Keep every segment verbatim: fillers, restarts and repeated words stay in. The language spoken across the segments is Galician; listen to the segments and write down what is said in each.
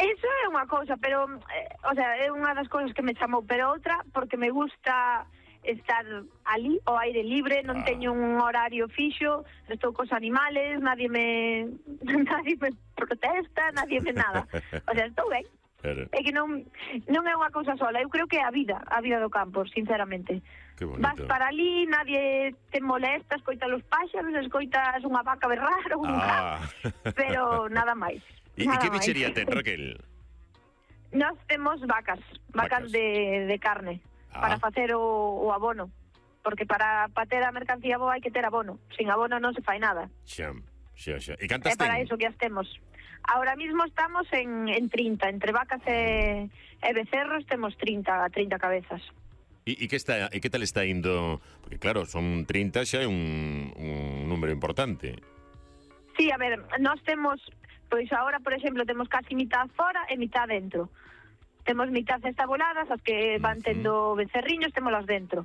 Eso é unha cousa, pero, eh, o sea, é unha das cousas que me chamou, pero outra, porque me gusta estar ali, ao aire libre, non ah. teño un horario fixo, estou cos animales, nadie me nadie me protesta, nadie me nada. O sea, estou ben. Pero... É que non non é unha cousa sola, eu creo que é a vida, a vida do campo, sinceramente. Vas para ali, nadie te molesta, escoitas os páxaros, escoitas unha vaca berrar ou un ah. can, pero nada máis. E que bichería ten, Raquel? Nós temos vacas, vacas, vacas. De, de carne, ah. para facer o, o abono. Porque para, para ter a mercancía boa hai que ter abono. Sin abono non se fai nada. Xa, xa, xa. E cantas ten? É para iso que as temos. Ahora mismo estamos en, en trinta, entre vacas e, e becerros temos trinta, trinta cabezas. E, e, que está, e que tal está indo? Porque claro, son trinta, xa é un, un número importante. Sí, a ver, nós temos... Pois agora, por exemplo, temos casi mitad fora e mitad dentro. Temos mitad estabuladas, as que van tendo becerriños, témolas dentro.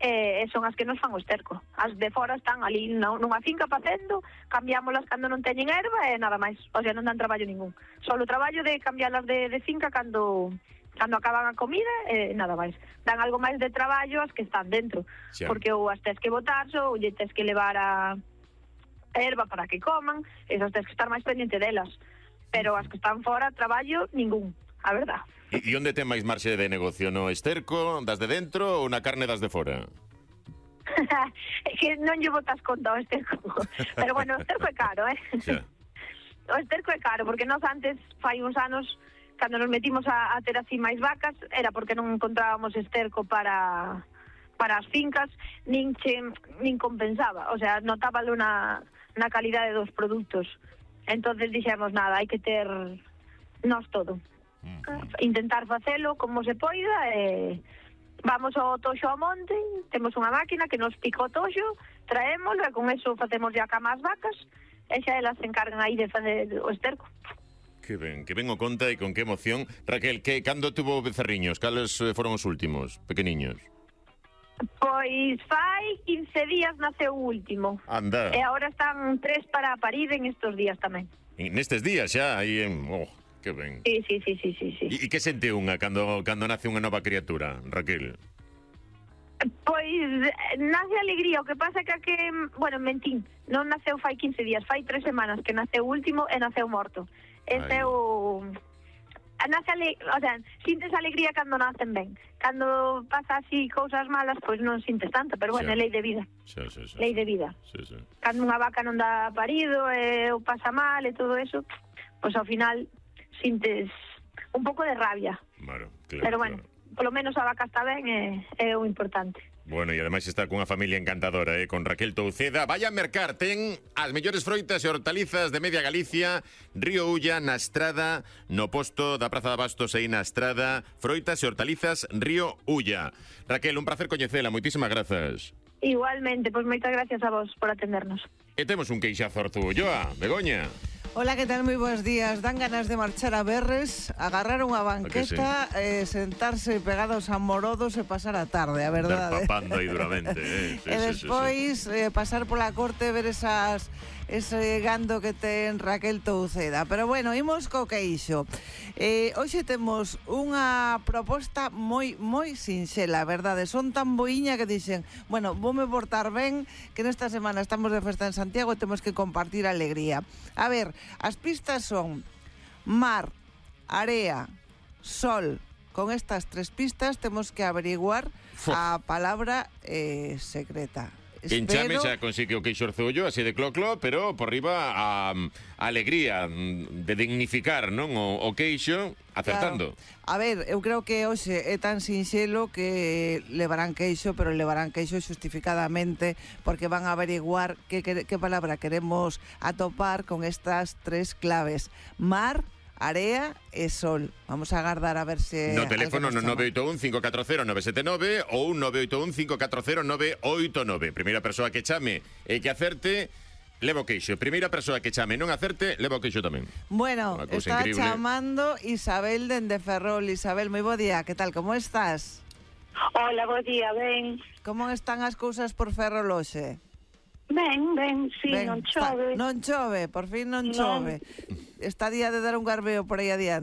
E, e son as que nos fan o esterco. As de fora están ali nunha finca facendo, cambiámolas cando non teñen erva e nada máis. O sea, non dan traballo ningún. Solo o traballo de cambiálas de, de finca cando... cando acaban a comida, eh, nada máis. Dan algo máis de traballo as que están dentro. Sí. Porque ou as tes que botar, ou lle tes que levar a... erva para que coman, esas tens que estar máis pendiente delas. Pero as que están fora, traballo, ningún, a verdad. E, e onde ten máis marxe de negocio? No esterco, das de dentro ou na carne das de fora? É que non lle botas conta ao esterco. Pero bueno, o esterco é caro, eh? Xa. O esterco é caro, porque nós antes, fai uns anos, cando nos metimos a, a ter así máis vacas, era porque non encontrábamos esterco para... para as fincas, nin, che, nin compensaba. O sea, notábalo na... na calidade dos produtos. Entonces dixemos, nada, hai que ter nós todo. Mm-hmm. Intentar facelo como se poida e vamos ao toxo ao monte, temos unha máquina que nos pica o toxo, traémolo e con eso facemos ya cama as vacas e xa elas se encargan aí de fazer o esterco. Que ben, que ben o conta e con que emoción. Raquel, que cando tuvo becerriños? Cales foron os últimos, pequeniños? Pois fai quince días naceu o último. Anda. E agora están tres para parir en estos días tamén. E nestes días xa, aí en... Oh, que ben. Sí, sí, sí, sí, sí, sí. E, e que sente unha cando, cando nace unha nova criatura, Raquel? Pois nace alegría, o que pasa que a que... Bueno, mentín, non naceu fai quince días, fai tres semanas que naceu o último e naceu morto. Este é o... Nace ale... o sea, sintes alegría cando nacen ben. Cando pasa así cousas malas, pois non sintes tanto, pero bueno, é lei de vida. Sí, sí, sí, lei de vida. Sí, sí. Cando unha vaca non dá parido e ou pasa mal e todo eso, pois ao final sintes un pouco de rabia. Claro, claro. Pero bueno, claro. Polo menos a vaca está ben e é o importante. Bueno, e ademais está cunha familia encantadora, eh, con Raquel Touceda. Vaya a mercar, ten as mellores froitas e hortalizas de media Galicia, Río Ulla, na Estrada, no posto da Praza de Abastos aí na Estrada, froitas e hortalizas Río Ulla. Raquel, un placer coñecela, moitísimas grazas. Igualmente, pois moitas gracias a vos por atendernos. E temos un queixazo Arzúa, Begoña. Hola, que tal? Moi bons días. Dan ganas de marchar a Berres, agarrar unha banqueta, sí? eh, sentarse pegados a morodos e pasar a tarde, a verdade. Dar papando aí duramente. Eh? Sí, e despois sí, sí, sí. Eh, pasar pola corte, ver esas ese gando que ten Raquel Touceda. Pero bueno, imos co queixo. Eh, hoxe temos unha proposta moi, moi sinxela, a verdade. Son tan boiña que dixen, bueno, voume portar ben, que nesta semana estamos de festa en Santiago e temos que compartir alegría. A ver, as pistas son mar, area, sol. Con estas tres pistas temos que averiguar a palabra eh, secreta. Quen chame xa consigue o queixo Arzúa, así de clo-clo, pero por riba a, a alegría de dignificar, non, o, o queixo acertando. Claro. A ver, eu creo que hoxe é tan sinxelo que levarán queixo, pero levarán queixo xustificadamente porque van a averiguar que, que, que palabra queremos atopar con estas tres claves. Mar, area e sol. Vamos a agardar a ver se... No teléfono no nove oito un cinco catro cero nove sete nove ou nove oito un cinco catro cero nove oito nove. Primeira persoa que chame e que acerte, leva o queixo. Primeira persoa que chame e non acerte, leva o queixo tamén. Bueno, está increíble. Chamando Isabel dende Ferrol. Isabel, moi bo día. Que tal, como estás? Hola, bo día, ben. Como están as cousas por Ferrol hoxe? Ben, ben, sí, ben, non chove. Está, non chove, por fin non chove. Non. Está día de dar un garbeo por aí adiante.